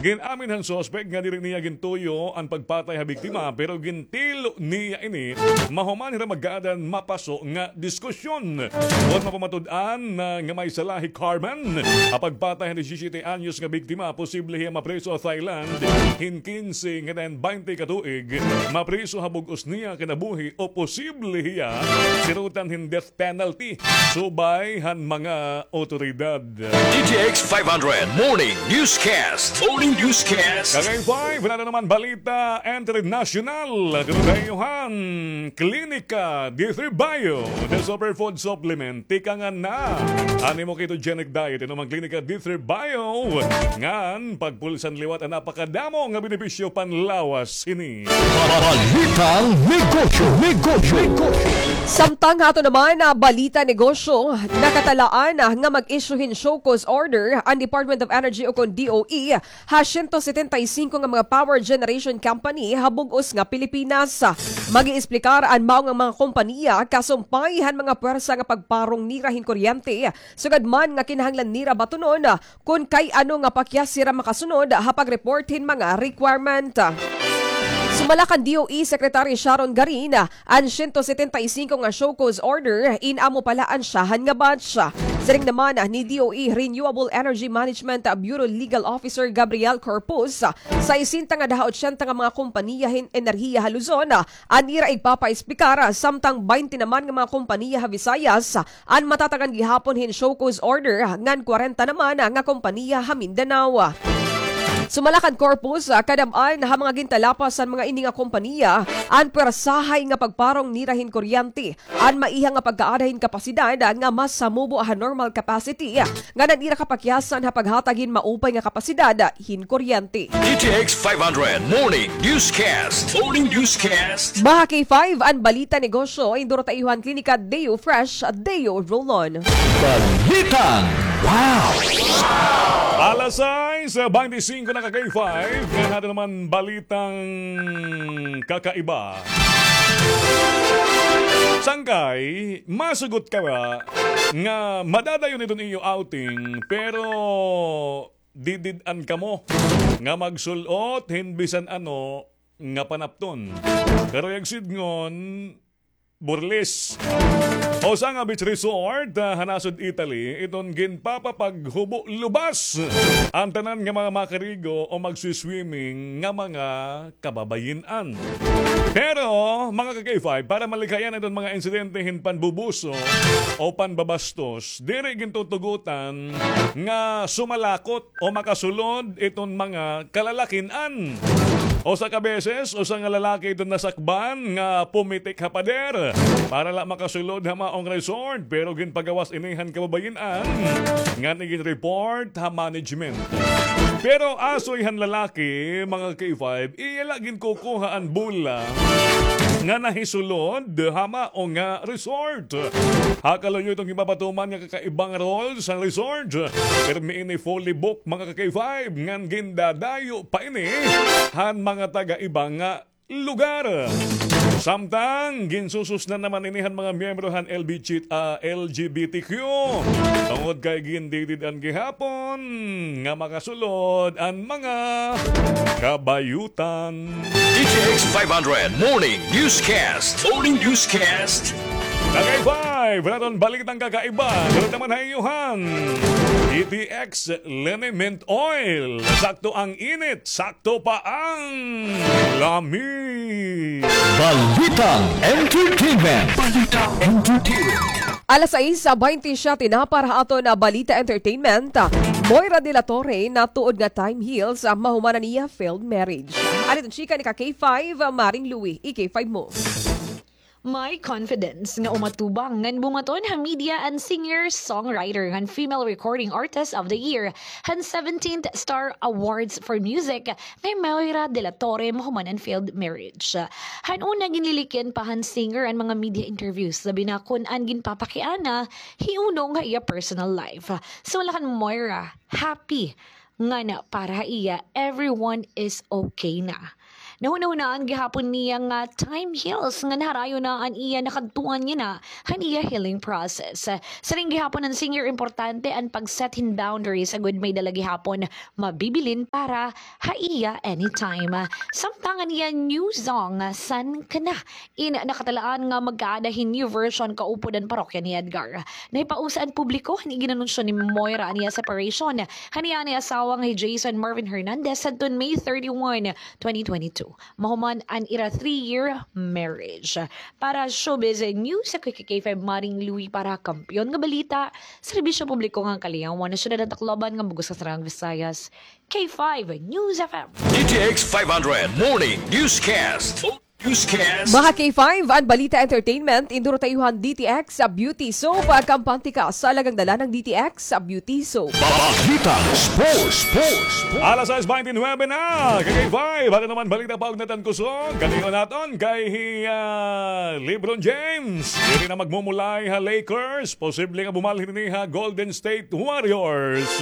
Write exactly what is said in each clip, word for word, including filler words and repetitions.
Gin-amin han suspek nga diri niya gintuyo an pagpatay ha biktima, pero gintilo niya ini mahuman hira magkaadan mapaso nga diskusyon. Kon mapamatud-an na nga may sala hi Carmen ha pagpatay han disisiyete anyos nga biktima, posible hiya mapriso ha Thailand hin kinse ngan baynte ka tuig. Mapriso ha bug-os niya kinabuhi o posible hiya sirutan hin death penalty subay han mga otoridad. D T X five hundred Morning Newscast. Morning Newscast. Kagay five, wala na naman balita international. Dito tayo han Klinika D three Bio, the superfood supplement. Tikangan na an imo ketogenic diet. Inom an Klinika D three Bio. Ngan, pagpulsan liwat an napakadamo nga benepisyo panlawas hini. Balitang negosyo, negosyo, negosyo. Samtang ha aton naman nga balita negosyo, nakatalaan nga mag-issue hin show cause order an Department of Energy o kon D O E ha siyento setenta y singko nga mga power generation company ha bug-os nga Pilipinas. Mag-iisplikar an mao nga mga kompanya kasumpay han mga puwersa nga pagparong nira hin kuryente, sugad man nga kinahanglan nira batunon kon kay ano nga pakyas hira makasunod ha pag-report hin mga requirement. Sumala kan D O E Secretary Sharon Garin, an siyento setenta y singko nga show cause order in amo pa la an syahan nga batch. Siring naman ni D O E Renewable Energy Management Bureau Legal Officer Gabriel Corpus, sesenta nga daha otsenta nga mga kompanya hin enerhiya ha Luzon an ira igpapaispikar, samtang baynte naman nga mga kompanya ha Visayas an matatagan gihapon hin show cause order, ngan kwarenta naman nga kompanya ha Mindanao. Sumala kan Corpus, kadam-an ha mga gintalapas han mga ini nga kompanya an pwersahay nga pagparong nira hin kuryente, an maiha nga pagkaada hin kapasidad nga mas hamubo ha normal capacity, ngan an ira kapakyasan ha paghatag hin maupay nga kapasidad hin kuryente. D T X five hundred Morning Newscast. Morning Newscast. Mga K five, an balita negosyo, induro ta iyo han Klinika Deo Fresh, Deo Roll-On. Balitang wow! Alas sais baynte singko na, ka K five. Ngayon natin naman balitang kakaiba. Sangkay, masugot ka ba nga madadayon iton iyo outing, pero didid-an kamo nga magsul-ot hin bisan ano nga panapton. Karuyag sidngon, Burles. Usa nga beach resort, ah, ha nasod Italy, iton ginpapapaghubo lubas an tanan nga mga makarigo o magswi-swimming nga mga kababayin-an. Pero, mga ka-K five, para malikayan iton mga insidente hin panbubuso o panbabastos, diri gintutugutan nga sumalakot o makasulod iton mga kalalakin-an. Usa ka beses, usa nga lalaki iton nasakban nga pumitik ha pader para la makasulod ha maong resort, pero ginpagawas ini han kababayin-an ngan igin-report ha management. Pero asoy han lalaki, mga K five, iya la ginkukuha an bola nga nahisulod ha mao nga resort. Ha kaluyo iton ginpapatuman nga kakaibang rules han resort, pirmi ini fully book, mga ka-K five, ngan gindadayo pa ini han mga taga-iba nga lugar. Samtang ginsususnan naman ini han mga miyembro han L B G, ah, L G B T Q. Tungod kay gindidid-an gihapon nga makasulod an mga kabayutan. D T X five hundred Morning Newscast. Morning Newscast. Tagay five, naton balitang kakaiba. Sunod naman ha iyo han D T X Liniment Oil. Sakto ang init, sakto pa ang lami. Balitang entertainment. Balitang entertainment. Alas sais baynte siyete na para ha aton balita entertainment. Moira de la Torre natuod nga time heals, ah, mahuman an iya failed marriage. Ano iton chika ni ka K five, ah, Maring Louie, i-K five mo. May confidence nga umatubang ngan bumaton ha media an singer-songwriter ngan Female Recording Artist of the Year han seventeenth Star Awards for Music nga hi Moira de la Torre mahuman an failed marriage. Han una, ginlilikyan pa han singer an mga media interviews, labi na kon an ginpapakiana hiunong ha iya personal life. Sumala kan Moira, happy ngan para ha iya, everyone is okay na. Nahunahunaan gihapon niya nga time heals ngan harayo na an iya nakadtuan niya na han iya healing process. Siring gihapon han singer, importante an pag-set hin boundaries agod may-ada la gihapon mabibilin para ha iya anytime. Samtang an iya new song, San Ka Na, in nakatalaan nga magkaada hin new version kaupod an parokya ni Edgar. Nahipausa an publiko han iginanunsyo ni Moira an iya separation han iya asawa nga hi Jason Marvin Hernandez sadton May thirty-one, twenty twenty-two. Mahuman an ira three-year marriage. Para showbiz news, ako hi K five Maring Louie para Kampiyon nga Balita, Serbisyo Publiko ngan Kaliyawan han Syudad han Tacloban ngan bug-os nga Saraang Visayas, K five News F M. D T X five hundred Morning Newscast. Newscast. Mga K five, an balita entertainment, induro ta iyo han D T X Beauty Soap. Kampante ka sa alagang dala ng D T X Beauty Soap. Balitang sports, sports, sports. Alas sais baynte nuwebe na, K K five. Ato naman balita pa og natan kusog. Kaniyo naton kay hi, ah, LeBron James. Diri na magmumulay ha Lakers. Posible nga bumalhin ini ha Golden State Warriors.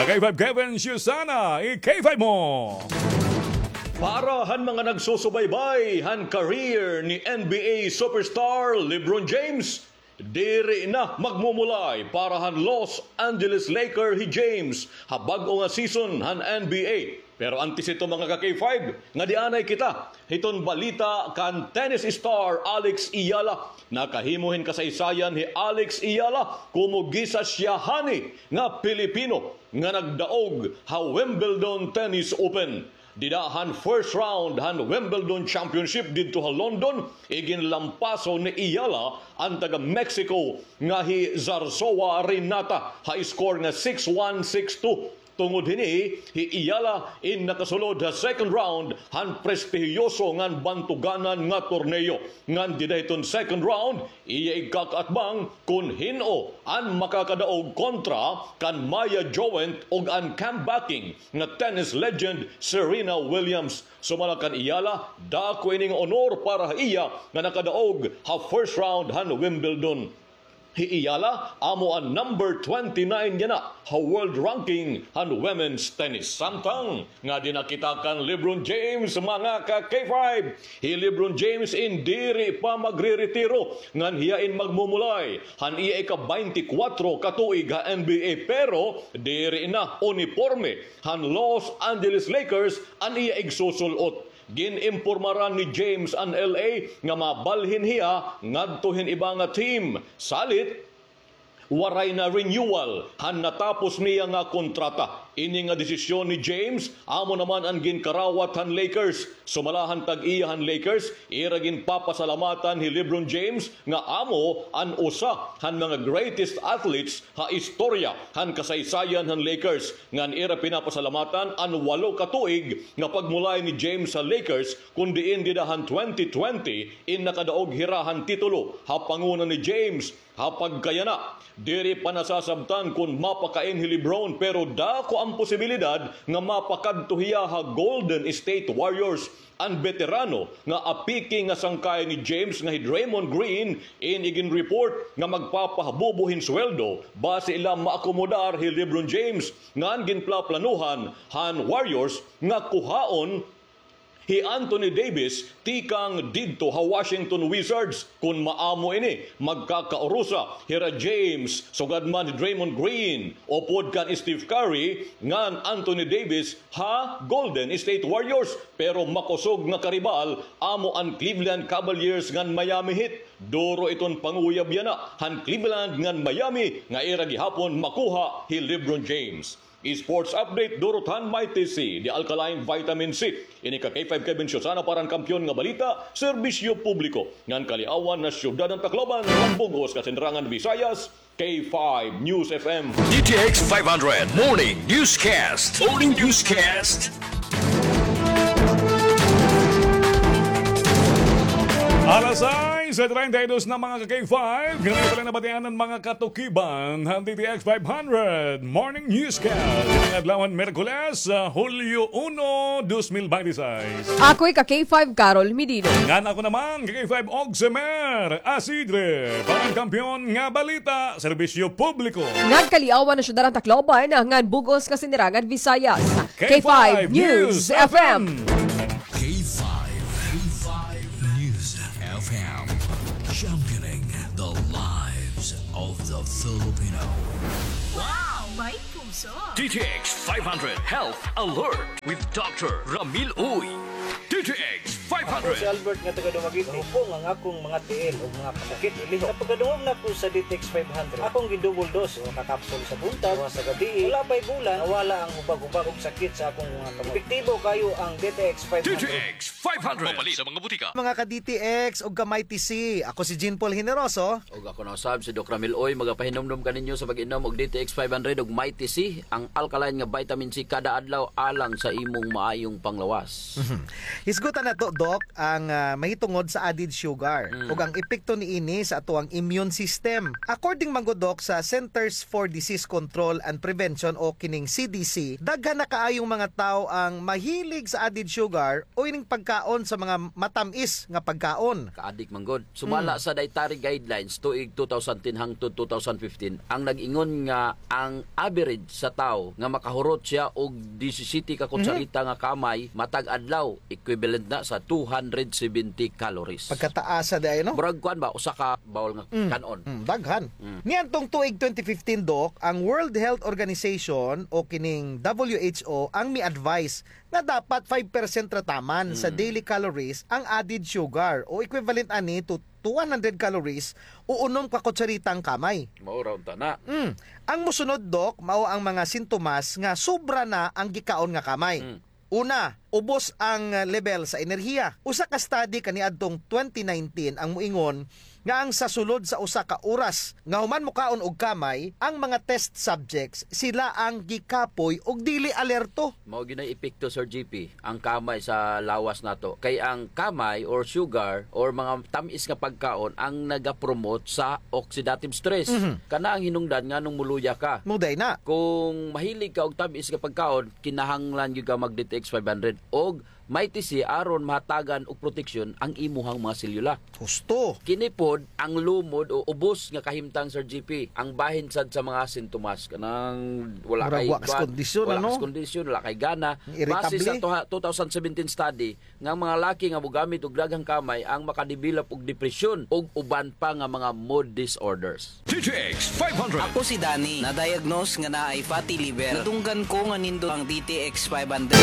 K five Kevin Susana, i-K five mo. Para han mga nagsusubaybay han career ni N B A superstar LeBron James, diri na magmumulay para han Los Angeles Laker hi James ha bag-o nga season han N B A. Pero antes hito, mga ka-K five, ngadianay kita hiton balita kan tennis star Alex Eala. Nakahimo hin kasaysayan hi Alex Eala komo gisasyahan nga Pilipino nga nagdaog ha Wimbledon Tennis Open. Dida han first round han Wimbledon Championship didto ha London, iginlampaso ni Eala an taga-Mexico nga hi Zarzoa Renata ha score nga six one, six two. Tungod hini, hi Eala in nakasulod ha second round han prestihiyoso ngan bantuganan nga torneo. Ngan dida hiton second round, iya igkakaatbang kon hin-o an makakadaog kontra kan Maya Joent ug an comebacking nga tennis legend Serena Williams. Sumala kan Eala, dako ini nga honor para ha iya nga nakadaog ha first round han Wimbledon. Hi Eala, amo an number twenty-nine yana ha world ranking han women's tennis. Samtang ngadi na kita kan LeBron James, mga ka-K five. Hi LeBron James in diri pa magreretiro, ngan hiya in magmumulay han iya ika-baynte kwatro ka tuig ha N B A, pero diri na uniporme han Los Angeles Lakers an iya igsusul-ot. Gin-impormaran ni James an L A nga mabalhin hiya ngadto hin iba nga team. Salit, waray na renewal han natapos niya nga kontrata. Ini nga desisyon ni James, amo naman an ginkarawat han Lakers. Sumala han tag-iya han Lakers, ira ginpapasalamatan hi LeBron James nga amo an usa han mga greatest athletes ha istorya han kasaysayan han Lakers. Ngan ira pinapasalamatan an walo ka tuig nga pagmulay ni James ha Lakers, kon diin dida han twenty twenty in nakadaog hira han titulo ha panguna ni James. Ha pagkayana, diri pa nasasabtan kon mapakain hi LeBron, pero dako an posibilidad nga mapakadto hiya ha Golden State Warriors. An beterano nga apiki nga sangkay ni James nga hi Draymond Green in igin-report nga magpapahabubo hin sweldo basi ila maakomodar hi LeBron James. Ngan ginplaplanuhan han Warriors nga kuhaon hi Anthony Davis tikang didto ha Washington Wizards. Kon maamo ini, magkakaurusa hira James, sugad man hi Draymond Green, upod kan Steph Curry ngan Anthony Davis ha Golden State Warriors. Pero makusog nga karibal amo an Cleveland Cavaliers ngan Miami Heat. Duro iton panguyab yana han Cleveland ngan Miami nga ira gihapon makuha hi LeBron James. Sports update, durot han Mighty C, the alkaline vitamin C. Ini ka K five Kevin Susana para han Kampiyon nga Balita, Serbisyo Publiko ngan Kaliawan han Syudad han Tacloban, ngan bug-os nga Sinirangan Visayas, K five News F M. D T X five hundred Morning Newscast. Morning Newscast. Alas sais treinta y dos na, mga ka-K five. Ganito pala nabatian an mga katukiban han D T X five hundred Morning Newscast. Ngayong adlaw han Miyerkules, ah, Hulyo uno, dos mil binte y seis. Ako hi ka-K five Carol Medino. Ngan ako naman, ka-K five Oximer Asidre. Para han Kampiyon nga Balita, Serbisyo Publiko ngan Kaliawan han Syudad han Tacloban, ngan bug-os nga Sinirangan Visayas, K five News F M. K five Filipino. Wow! May puso! D T X five hundred Health Alert with Doctor Ramil Uy. D T X Ako si five hundred. Albert nga taga Dumaguete. Hupong ang akong mga tiil ug mga kasakit ilihok. Sa pagkadungog nako sa D T X five hundred, akong gi-double dose, usa ka kapsul sa buntag, usa sa gabii. Wala pa'y bulan, nawala ang hubag-hubag ug sakit sa akong mga kamot. Epektibo kaayo ang D T X five hundred. D T X five hundred. Mapalit sa mga butika. Mga ka-D T X ug ka-Mighty C, ako si Jean Paul Generoso. Ug ako na usab si Doc Ramil Uy, magapahinumdom kaninyo sa pag-inom og D T X five hundred ug Mighty C, ang alkaline nga vitamin C kada adlaw alang sa imong maayong panglawas. Mhm. Hisgutan nato, Doc, ang, ah, mahitungod sa added sugar Mm. ug ang epekto niini sa atoang immune system. According man gud, Doc, sa Centers for Disease Control and Prevention o kining C D C, daghan na kaayong mga tawo ang mahilig sa added sugar o ining pagkaon sa mga matam-is nga pagkaon. Kaadik man gud. Sumala Mm. sa dietary guidelines tuig two thousand ten hangtod two thousand fifteen, ang nag-ingon nga ang average sa tawo nga makahurot siya og disisiyete ka Mhm. kutsarita nga kamay matag adlaw, equivalent na sa two hundred seventy calories. Pagkataasa diay, no? Murag kuan ba, usa ka bowl nga Mm. kan-on. Mm, daghan. Mm. Niadtong tuig twenty fifteen, Doc, ang World Health Organization o kining W H O ang mi-advise nga dapat five percent ra taman sa Mm. daily calories ang added sugar o equivalent ani to, to one hundred calories o unom ka kutsaritang kamay. Mao ra unta na. Mm. Ang mosunod, Doc, mao ang mga sintomas nga sobra na ang gikaon nga kamay. Mm. Una, ubos ang level sa enerhiya. Usa ka study kaniadtong twenty nineteen ang moingon nga ang sa sulod sa usa ka oras nga human mokaon og kamay, ang mga test subjects, sila ang gikapoy ug dili alerto. Mao gyud nay epekto, Sir G P, ang kamay sa lawas nato. Kay ang kamay or sugar or mga tam-is nga pagkaon ang nagapromote sa oxidative stress. Mhm. Kana ang hinungdan nganong moluya ka. Mao diay na. Kung mahilig ka og tam-is nga pagkaon, kinahanglan gyud ka mag D T X five hundred og Mighty C aron mahatagan og proteksyon ang imuhang mga selyula. Husto. Kini pod ang lumod o ubos nga kahimtang, Sir G P, ang bahin sad sa mga sintomas. Kanang wala Murag kay wa ka sa kuan, kondisyon, wala ano? ka sa kondisyon, wala kay gana. Irritable. Base sa tuha-, two thousand seventeen study, nga ang mga laki nga mogamit og daghang kamay ang makadevelop og depresyon ug uban pa nga mga mood disorders. D T X five hundred. Ako si Danny, na-diagnose nga naay fatty liver. Nadunggan ko nga nindot ang D T X five hundred.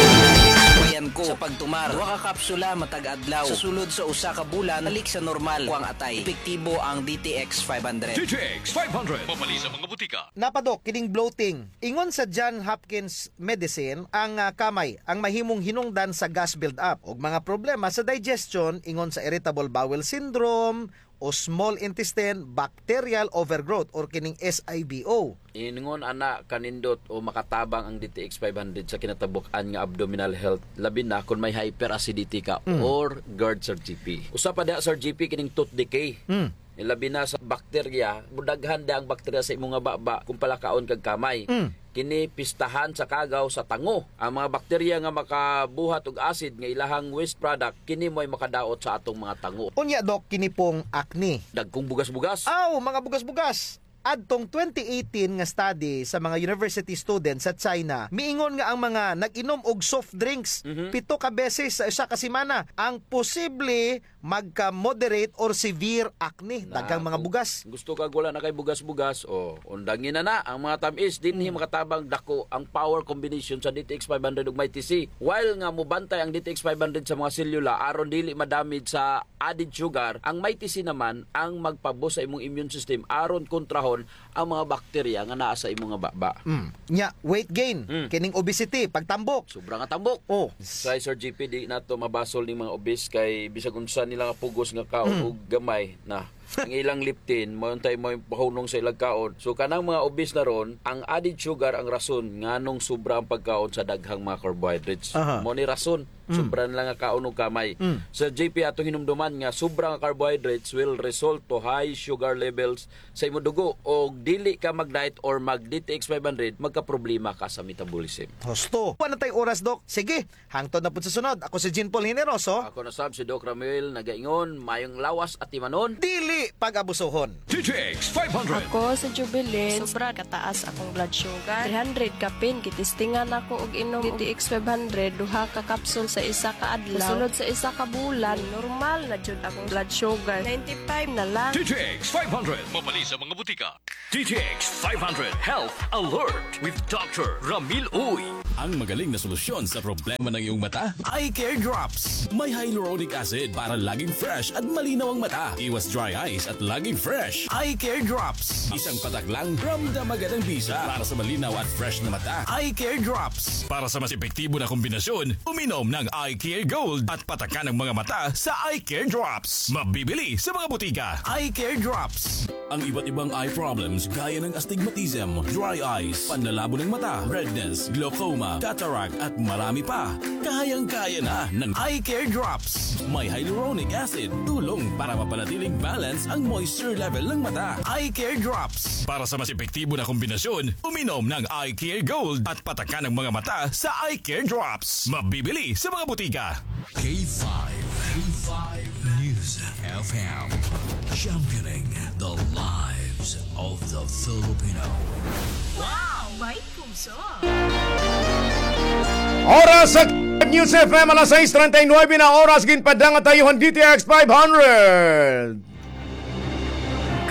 Subayan ko sa pagtumar. Duha ka kapsula matag adlaw. Sa sulod sa usa ka bulan, balik sa normal ko ang atay. Epektibo ang D T X five hundred. D T X five hundred. Mapalit sa mga butika. Napadok, kining bloating. Ingon sa John Hopkins Medicine, ang, ah, kamay ang mahimong hinungdan sa gas build-up ug mga problema sa digestion, ingon sa irritable bowel syndrome o small intestine bacterial overgrowth or kining S I B O. Ingon ana kanindot o makatabang ang D T X five hundred sa kinatabuk-an nga abdominal health, labi na kon may hyperacidity ka Mm. or GERD, Sir G P. Usa pa diha, Sir G P, kining tooth decay. Mm. Labi na sa bakterya, mudaghan da ang bakterya sa imo nga baba kung palakaon kag kamay. Mm. Kini pistahan sa kagaw sa tango. Ang mga bakterya nga makabuhat og acid nga ilahang waste product, kini mo'y makadaot sa atong mga tango. Unya, Doc, kini pong acne. Dagkong bugas-bugas. Aw, mga bugas-bugas. Adtong twenty eighteen nga study sa mga university students sa China, miingon nga ang mga nag-inom og soft drinks Mhm. pito ka beses sa usa ka semana ang posible magka-moderate or severe acne. Na, Daghang mga kung bugas. gusto kag wala na kay bugas-bugas, o, undangi na na ang mga tam-is, dinhi Mm. makatabang dako ang power combination sa D T X five hundred ug Mighty C. While nga mubantay ang D T X five hundred sa mga selula aron dili madamage sa added sugar, ang Mighty C naman ang magpaboost sa imong immune system aron kontrahon ang mga bakterya nga naa sa imong nga baba. Mm. Nya, weight gain, Mm. kining obesity, pagtambok. Sobra nga tambok. Oh. Kay Sir G P, di nato mabasol ning mga obese kay bisag unsa nila nga pugos nga kaon Mm. og gamay na. Ang ilang leptin, mao untay mao'y pahunong sa ilang kaon. So, kanang mga obese na ron, ang added sugar ang rason nganong sobra ang pagkaon sa daghang mga carbohydrates. Aha. Mao ni rason, Mm. sobra nila nga kaon og kamay. Mm. Sir G P, atong hinumduman nga sobra nga carbohydrates will result to high sugar levels sa imong dugo, og dili ka mag-diet or mag D T X five hundred, magkaproblema ka sa metabolism. Husto. Wala na tay oras, Doc. Sige, hangtod na pud sa sunod. Ako si Jean Paul Generoso. Ako na sab si Doc Ramuel, nagaingon, mayong lawas atimanon. Dili pag-abusohon. D T X five hundred. Ako si Jubilin. Sobra kataas akong blood sugar. Three hundred kapin, gitistingan ako og inom D T X five hundred, duha ka kapsul sa isa ka adlaw. Sulod sa isa ka bulan, normal na jud akong blood sugar. Ninety-five na lang. D T X five hundred. Mapalit sa mga butika. D T X five hundred Health Alert with Doctor Ramil Uy. Ang magaling na solusyon sa problema ng iyong mata, Eye Care Drops. May hyaluronic acid para laging fresh at malinaw ang mata. Iwas dry eyes at laging fresh. Eye Care Drops. Isang patak lang, ramdam agad ang bisa para sa malinaw at fresh na mata. Eye Care Drops. Para sa mas epektibo na kombinasyon, uminom ng Eye Care Gold at patakan ang mga mata sa Eye Care Drops. Mabibili sa mga butika. Eye Care Drops. Ang iba't ibang eye problems gaya ng astigmatism, dry eyes, panlalabo ng mata, redness, glaucoma, cataract at marami pa. Kayang-kaya na ng Eye Care Drops. May hyaluronic acid, tulong para mapanatiling balance ang moisture level ng mata. Eye Care Drops. Para sa mas epektibo na kombinasyon, uminom ng Eye Care Gold at patakan ang mga mata sa Eye Care Drops. Mabibili sa mga butika. K five, K five News F M, championing the lives of the Filipino. Wow, may puso. Oras sa News F M, alas sais treinta y nueve na oras, ginpadala nga tayuhan D T X five hundred.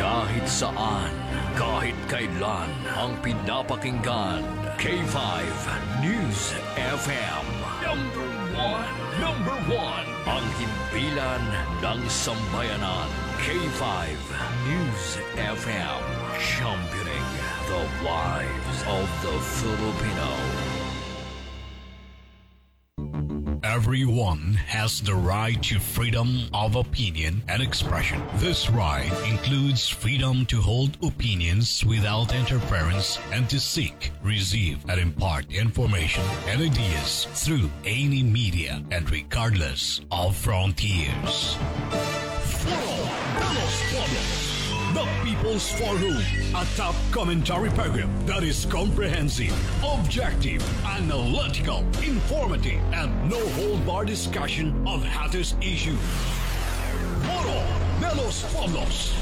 Kahit saan, kahit kailan, ang pinapakinggan, K five News F M. Number one, number one, ang himpilan ng sambayanan, K five News F M, championing the lives of the Filipino. Everyone has the right to freedom of opinion and expression. This right includes freedom to hold opinions without interference and to seek, receive, and impart information and ideas through any media and regardless of frontiers. Foro de los Pueblos, the People's Forum, a top commentary program that is comprehensive, objective, analytical, informative, and no-hold-bar discussion of hottest issues. Foro de los Pueblos.